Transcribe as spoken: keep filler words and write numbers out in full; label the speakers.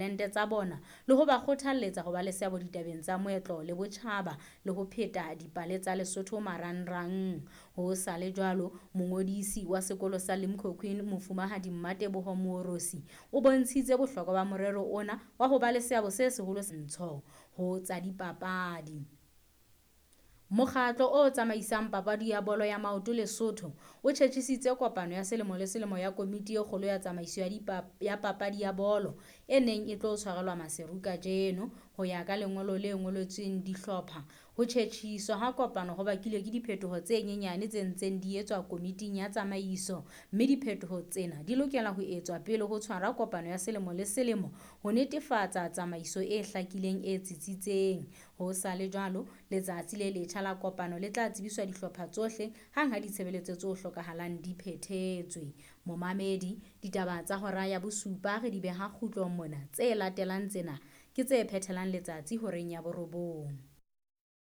Speaker 1: Talente tsa bona le ho ba kgothalletsa ho ba le seabo ditabeng tsa moetlo le botjhaba le ho pheta dipale tsa Lesotho marangrang. Ho sa le jwalo, mongodisi wa sekolo sa Limkokwing Mofumahadi Mmateboho Moorosi o bontshitse bohlokwa ba morero ona wa ho ba le seabo se seholo ntsho ho tsa dipapadi. Mokgatlo o tsamaisang papadi ya bolo ya maoto Lesotho o tjhetjhisitse kopano ya selemo le selemo ya komiti e kgolo ya tsamaiso ya, ya papadi ya bolo e neng e tlo tshwarelwa Maseru kajeno. Ho ya ka lengolo le ngoletsweng dihlopha, ho tjhetjhiswa ha kopano ho bakilwe ke diphetoho tse nyenyane tse ntseng di etswa komiting ya tsamaiso, mme diphetoho tsena di lokela ho etswa pele ho tshwarwa kopano ya selemo le selemo ho netefatsa tsamaiso e hlakileng e tsitsitseng. Ho sa le jwalo, letsatsi le letjha la kopano le tla tsebiswa dihlopha tsohle hang ha ditshebeletso tse hlokahalang di phethetswe. Momamedi, ditaba tsa hora ya bosupa re di beha kgutlong mona. Tse latelang tsena ke tse phethelang letsatsi horeng ya borobong.